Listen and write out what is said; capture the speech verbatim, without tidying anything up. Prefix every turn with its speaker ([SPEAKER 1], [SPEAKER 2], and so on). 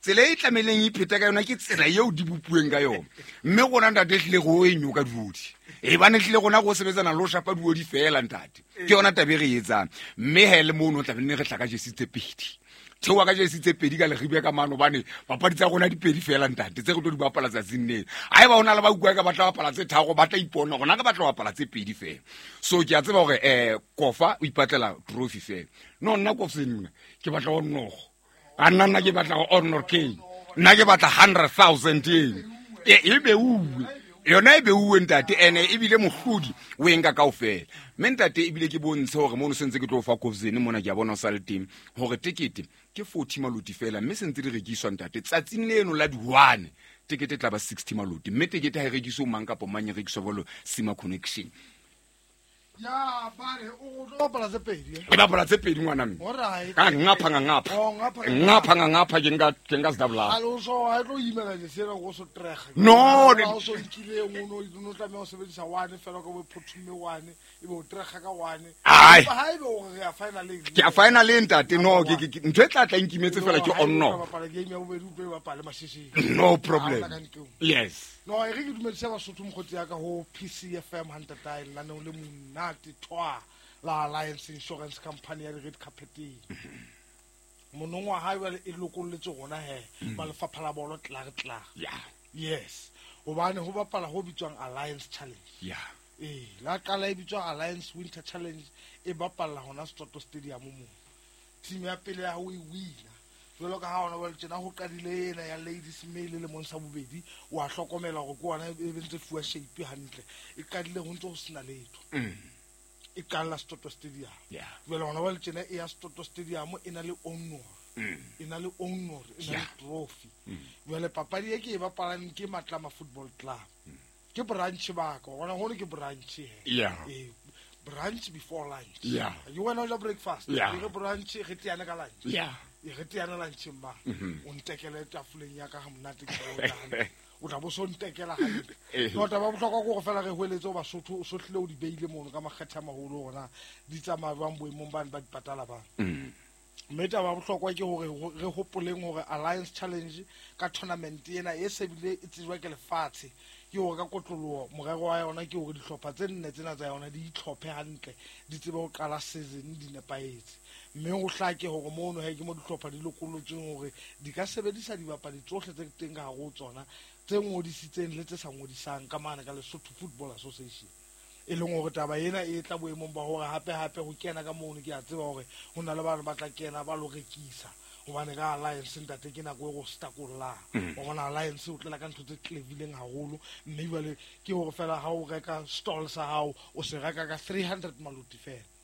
[SPEAKER 1] Tsela e tlameileng e ipheta ka yona ke tsela eo di bopuweng ka yona. Mme rona ntate hlile re o e nyoka diodi. E bane hlile rona go sebetsana le ho shapa diodi fela ntate. Ke yona taba e re e etsang. Mme he le mono tla be re tla ka jesi tse pedi. Theoha ka jesi tse pedi ka leribe ka mane hobane papadi tsa rona di pedi fela ntate tse re tlo di bapala tsatsing lena. Haeba ho na le ba utlwa ka batla bapala tse tharo ba tla ipona rona re batla ho bapala tse pedi fela. So ke a tseba hore eh Kofa o ipatlela trophy fela. No nna Kofa nna ke batla ho nogo. A nna nna ke batla ho honor K. Nna ke batla hundred thousand eno. E e beuwe. Yona e beuwe ntate ene ebile mohlodi o e nka kaofela. Mme ntate ebile ke bontshe hore mono sentse ke tlo fa Kofzene mona ke a bona o sa le teng hore tekete ke forty maloti fela mme sentse di rekiswa ntate tsatsing leno la di-one tekete e tla ba sixty maloti mme tekete ha e rekiswe ho mang kapa mang e rekiswa jwalo Sima Connection.
[SPEAKER 2] Ya bare o tlo bapala tse pedi eh?
[SPEAKER 1] E bapala tse pedi ngwana mme.
[SPEAKER 2] Alright.
[SPEAKER 1] Ka ngapha nga ngapha.
[SPEAKER 2] Oh, ngapha nga
[SPEAKER 1] Ngapha nga ngapha ke nka ke nka sedabula.
[SPEAKER 2] A lo so ha tlo imela je sena go so trega.
[SPEAKER 1] No,
[SPEAKER 2] Ha o so nkile o no o tlameha ho sebedisa one fela ka bo phothume one e be o trega ka one.
[SPEAKER 1] Ai.
[SPEAKER 2] Empa ha ebe o re ya finaleng.
[SPEAKER 1] Ke a finaleng ntate no ke ke ntho e tla tla nkimetse fela ke on no.
[SPEAKER 2] Bapala game ya bobedi o tlo e bapale mashishing.
[SPEAKER 1] No problem.
[SPEAKER 2] Ha o tla ka ntlong.
[SPEAKER 1] Yes.
[SPEAKER 2] No, e re ke dumedise Basotho mokgotsi ya ka ho P C F M hantatae lenaneo le monate thwa la Alliance Insurance Company ya di-red carpeteng. Monongwaha ha jwale e lokolletse rona he,
[SPEAKER 1] Mm.
[SPEAKER 2] ba lefapha la bolo tlar tlar.
[SPEAKER 1] Yeah.
[SPEAKER 2] Yes. Hobane ho bapala ho bitswang Alliance Challenge.
[SPEAKER 1] Yeah.
[SPEAKER 2] Eh, la qala e bitswa Alliance Winter Challenge e bapalla hona Soto Stadium moo. Team ya pele ya ho e wina. Jwalo ka ha hona jwale tjena ho qadile ena ya Ladies Mail le mong sa bobedi, wa hlokomela hore ke ona e be ntse fuwa shape hantle. E qadile ho ntse ho sena letho.
[SPEAKER 1] Mm.
[SPEAKER 2] E qalla Soto Stadium.
[SPEAKER 1] Yeah.
[SPEAKER 2] Jwale hona jwale tjena e ya Soto Stadium e na le honor.
[SPEAKER 1] Mm.
[SPEAKER 2] E na le honor, e na le
[SPEAKER 1] Yeah.
[SPEAKER 2] trophy.
[SPEAKER 1] Mm.
[SPEAKER 2] Jwale papadi e ke e bapalang ke Matlama Football Club.
[SPEAKER 1] Mm.
[SPEAKER 2] Ke branch ba ka, hona hono ke branch he.
[SPEAKER 1] Yeah.
[SPEAKER 2] Eh, brunch before lunch.
[SPEAKER 1] Yeah.
[SPEAKER 2] You wena o ja breakfast.
[SPEAKER 1] Yeah.
[SPEAKER 2] Re brunch re teana ka lunch.
[SPEAKER 1] Yeah.
[SPEAKER 2] E re teana lunch mma.
[SPEAKER 1] Mm-hmm.
[SPEAKER 2] O ntekele tafoleng ya ka ha monate ke tla o ja hantle. O tla bo so ntekela hantle.
[SPEAKER 1] Eh.
[SPEAKER 2] No, taba ya bohlokwa ke hore fela re hweletse ho Basotho, o sohlile o di beile mono ka makgethe a maholo hore na di tsamaya jwang boemong bane ba di patala bang.
[SPEAKER 1] Mm.
[SPEAKER 2] Mme taba ya bohlokwa ke hore ho-, re hopoleng hore Alliance Challenge ka tournament ena e se bile e tsejwa ke lefatshe. Ke hore ka kotloloho morero wa yona ke hore dihlopha tse nne tsena tsa yona di itlhophe hantle, di tsebe ho qala season di nepahetse. Mme ho hlake hore mono he ke mo dihlopha di lokolotsweng hore di ka sebedisa dibapadi tsohle tse teng ka hare ho tsona, tse ngodisitseng le tse sa ngodisang ka mane ka Lesotho Football Association. E leng hore taba ena e tla boemong ba hore hape hape ho kena ka mono ke a tseba hore ho na le bana ba tla kena ba lo rekisa. Hobane ka Alliance ntate ke nako e go stakollang.
[SPEAKER 1] Mm.
[SPEAKER 2] Wa bona Alliance o tlela ka ntho tse clevileng haholo, mme jwale ke hore fela ha o reka stall sa hao o se reka ka three hundred maloti fela.